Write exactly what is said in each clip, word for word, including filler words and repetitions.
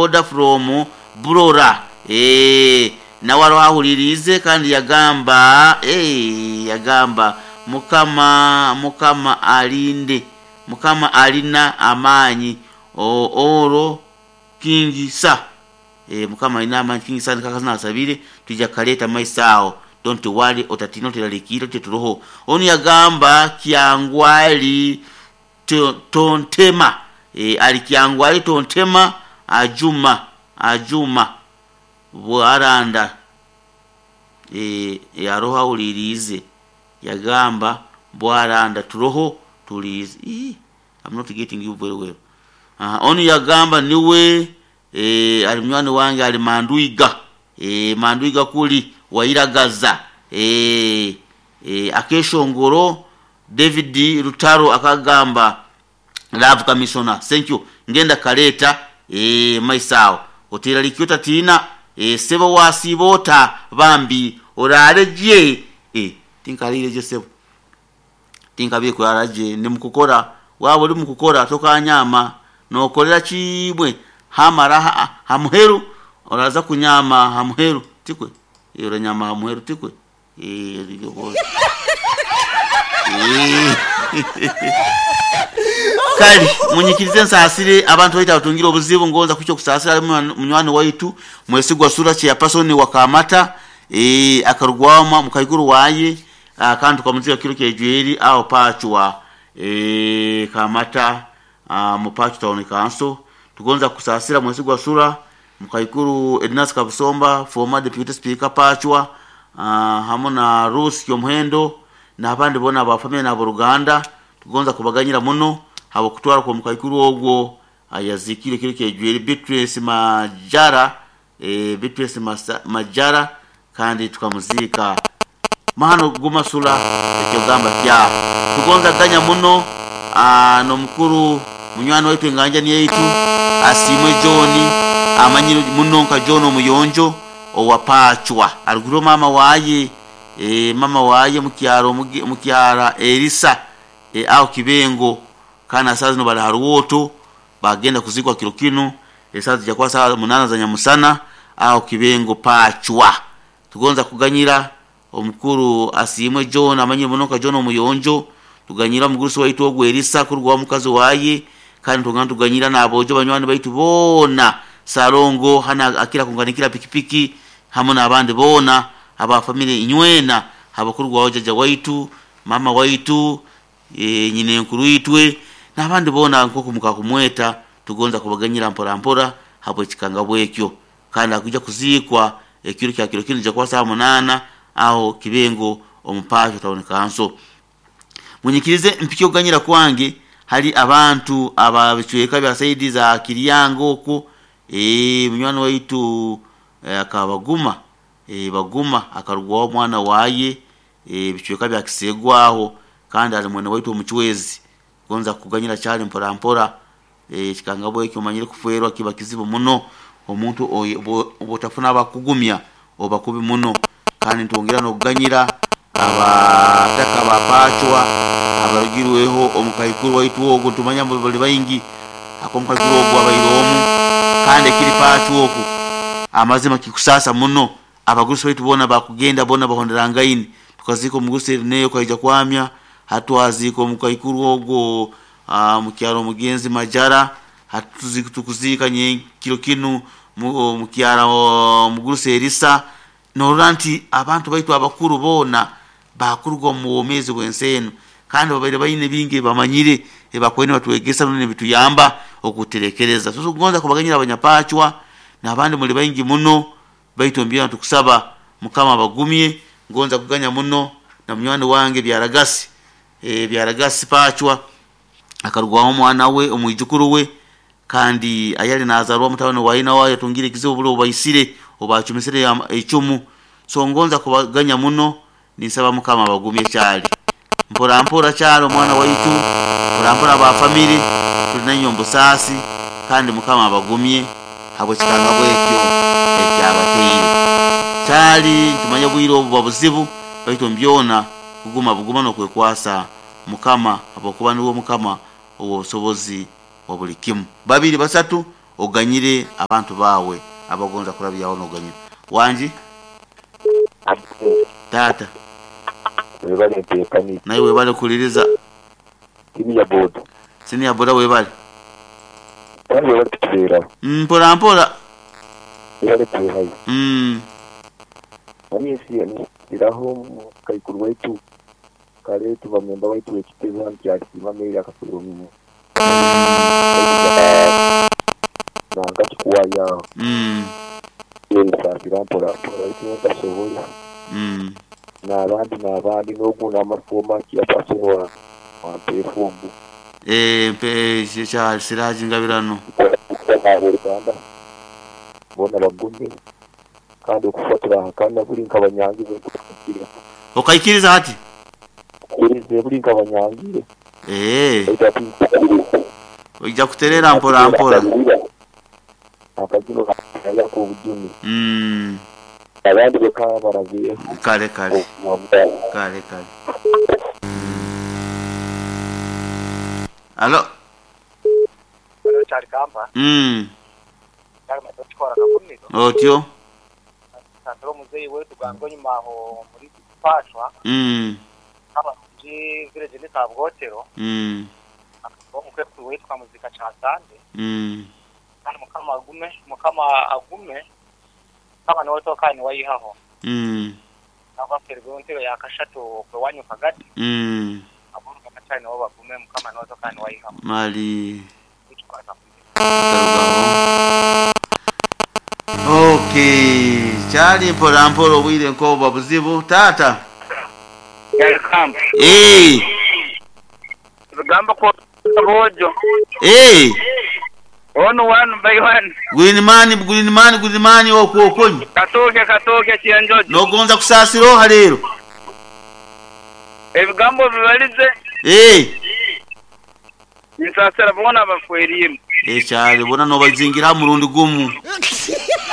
boda from Burora. Eh, nawe aroho ahuliriize kandi yagamba eh, yagamba mukama mukama alinde mukama alina amaanyi oro kingi sa e, mukama alina amaanyi kingi sa nikakazina asabire tujja kaleta maiso aho don't worry otatina oteralikire teturoho onu yagamba kyangwali to, tontema e, ali kyangwali tontema ajuma ajuma bwaranda e, yaroho awuliriize yagamba bwaranda turoho tuliize. I'm not getting you very well. Uh, onu yagamba niwe e, ali munywani wange ali manduiga e, manduiga kuli wairagaza e, e, akeshongoro David Rutaro akagamba love commissioner thank you ngenda kaleta e, maisao otera likyota tina e, sebo wasibota bambi oraleje e, tinkalire je sebo tinkabire kuraraje ndi mukukora waba uri mukukora tokanyama nokorera chibwe hamara ha, hamuheru oraza kunyama hamuheru tikwe e, oranyama hamuheru tikwe e, e, kali munyikirize nsasire abantu baita batungira obuzibu ngonza kucyo kusasira munywani waitu mwesigwa sura cha pasoni wakamata e, akarugwama mukaiguru waye akantu kamuzika kiro kejweri aho pachwa e, kamata mupachu town council tugonza kusasira mwesigwa sura mukaikuru Ednas Kabusomba former deputy speaker pachwa hamwe na Rusi Kyomuhendo n'abandi bona abafamily na Ruganda tugonza kubaganyira muno habo kutwara kwa mukaikuru ogwo ayazikire kiro kejweri Beatrice Majara e, Beatrice Majara kandi tukamuzika mahano guma sula ekyogamba kya tugonza ganya muno no mukuru munywani waitu enganja ni yaitu asimwe John amanyire muno nka John omuyonjo owapachwa aruguru mama waye e, mama waye mukyaro mukyara Elisa e, aho kibengo kana sazi no bali haruwoto bagenda kuzikwa kiro kino esazi jakwa saa munana za nyamusana aho kibengo pachwa tugonza kuganyira omukuru asimwe John amanyire muno nka John omuyonjo tuganyira mugurusi waitu ogwo Elisa kurwa mukazi waye kandi tugana tuganyira nabojo banywani baitu bona Salongo hana akira kunganikira pikipiki hamwe n'abandi bona aba family inywena abakurwa wajaja waitu mama waitu e, nyine nkuru itwe n'abandi bona nkoko mukakumweta tugonza kubaganyira mpora mpora hapo chikanga bwekyo kandi akuja kuzikwa ekiro kya kiro kino kwa saa munana aho kibengo omupasho town council munyikirize mpikyo ganyira kwange hali abantu ababicweka bya saidi za Kiryango oku eh munywani waitu e, akabaguma e, baguma akarugwa mwana waye e, bicweka bya kisegwaho kandi ali mwene waitu omuchwezi gonza kuganyira cyali mpora mpora e, kikanga bwekyo manyire kufuerwa kiba kizibu muno omuntu obotafuna abakugumya obakubi muno kandi ntongera no kuganyira abataka bapachwa abarugirweho omukaikuru waitu ogwo tumanya bali baingi akomukaikuru ogwo abayiromu kandi kiri pachu oku amazima kikusasa muno abagurusi baitu bona bakugenda bona bahonderangaini tukaziko omugurusi neyo kaija kwamya hatwaziko omukaikuru ogwo mukyaro mugenzi Majara hatuziko tukuzika nye kiro kinu mukyaro omugurusi Elisa norora nti abantu baitu abakuru bona bakurwa mu womezi bwenseno kandi babaire bayine bingi bamanyire ebakwene batwegesa none bituyamba okuterekereza so tugonza kubaganyira abanyapachwa n'abandi muri bayingi muno baitu mbya tukusaba mukama bagumye ngonza kuganya muno na munywani wange byaragasi e, byaragasi pachwa akarugwaho mwana we omwijukuru we kandi ayali nazarwa mutabani waina wayo tungire kizibu bulo baisire obachumisire echumu so ngonza kubaganya muno nisaba mukama bagumye cyali mpora mpora cyalo mwana waitu mpora mpora ba family tulinanyo mbusasi kandi mukama bagumye habo kikanga bwekyo ekyabateire cyali tumanya bwiro obu buzibu baitu mbyona kuguma buguma no kwekwasa mukama abokuba niwo mukama obusobozi wa buli kimu babiri basatu Oganyire abantu bawe abagonza kurabyaho noganyira. Wanji? Tata. Webale ntekani. Naye webale kuliriza. Siniya boda. Siniya boda webale. Kandi webale kutubeera. Mpora mpora. Webale kuhayo. Mm. Nanyesi iraho kaikuru waitu kale tuba memba waitu ekiteza nti meri akafuru mu. Nanga kikuwaya. Mm. Yesasira mpora mpora itu ntasobola. Mm. N'abandi n'abandi n'oguna amafoma kiyapasobola wampe fumbu. Eh mpe cha Siraji Ngabirano. Uganda bona bagume kandi okufatira kandi buli nkabanyangire okaikiriza hati kurize buli nkabanyangire eh ojja kuterera mpora mpora akagino kaya ku bujumi mm abandi bakaba barabiye kale kale kale kale. Alo Alo Kyarikamba. Mm. Tukora kakumiro. Otyo. Santro muzeyi wetu gango nyuma aho muri Pashwa. Mm. Aba muri village ni Kabwotero. Mm. Akabongo kwe witwa muzika cha Sande. Mm. Kandi mukama agume, mukama agume. Kama no toka ni wayihaho. Mm. Aba fergonte ya kashato kwe wanyu kagati. Mm. Abongo kachani wo bagume mukama no toka ni wayihaho. Mali. Okay, chali mpora mpora obwire nkoba buzibu tata. Welcome. Eh. Rugamba ko bojo. Eh. Ono one by one. Green man, green man, green man okokonyi. Katoke katoke kianjojo. Nogonza kusasira halero. Ebigambo bibalize. Eh. Nisasira bona bafwerire. Eh chali bona no bazingira murundi gumu.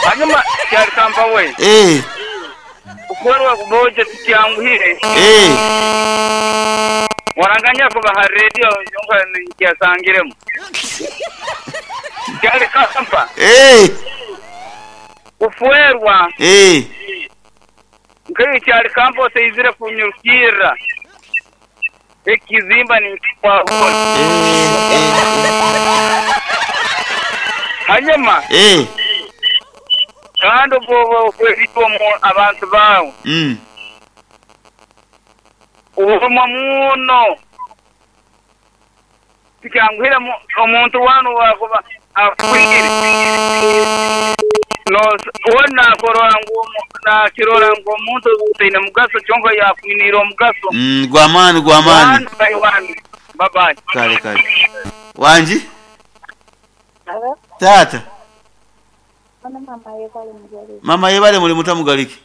Hanyuma Kyarikamba we. Eh. Ukwerwa kuboje tukyanguhire. Eh. Waranganya kuba ha radio yonka nkiyasangiremo. Kyarikamba. Eh. Ufwerwa. Eh. Nkayo Kyarikamba oseyizire kunyurukira. Ekizimba ni kwa. Eh. Eh. Hanyuma. Eh. Kandi ubwo kwebitwa abantu bawe. Mm. Ubumwa muno. Tikyanguhira omuntu wanu wakuba akwire. No wona korora ngo na kirora ngo omuntu utaine mugaso kyonka yakwinira omugaso. Mm, gwamani gwamani. Bye bye. Kale kale. Wanji? Alo. Tata. Mama yebale mugaliki. Mama yebale muri mutamugaliki.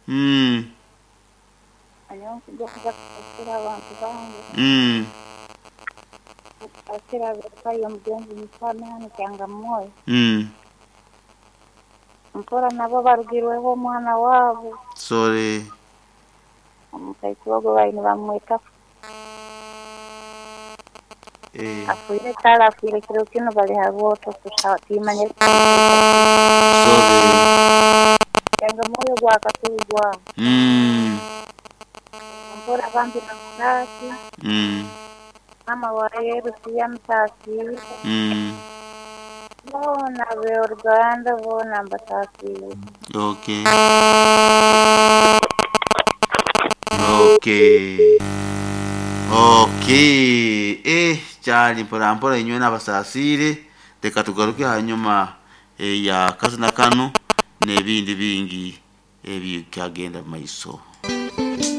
Mm. Mm. Mm. Mpora nabo barugirweho omwana wabo. Sorry. Omukaikuogo baine bamweta. Eh. Afuire tala afuire kiro kino bali haboto kushatimanye. Sorry. Yanga moyo gwakatugwa. Mm. Mpora bambi nakati. Mm. Mama wa Yerusi yamtasi. Mm. Bona beorganda bona mbatasi. Okay. Okay. Okay. Eh, cyari mpora mpora inywe n'abasasire reka tugaruke hanyuma eh, ya kazina kano n'ebindi bingi ebikyagenda maiso.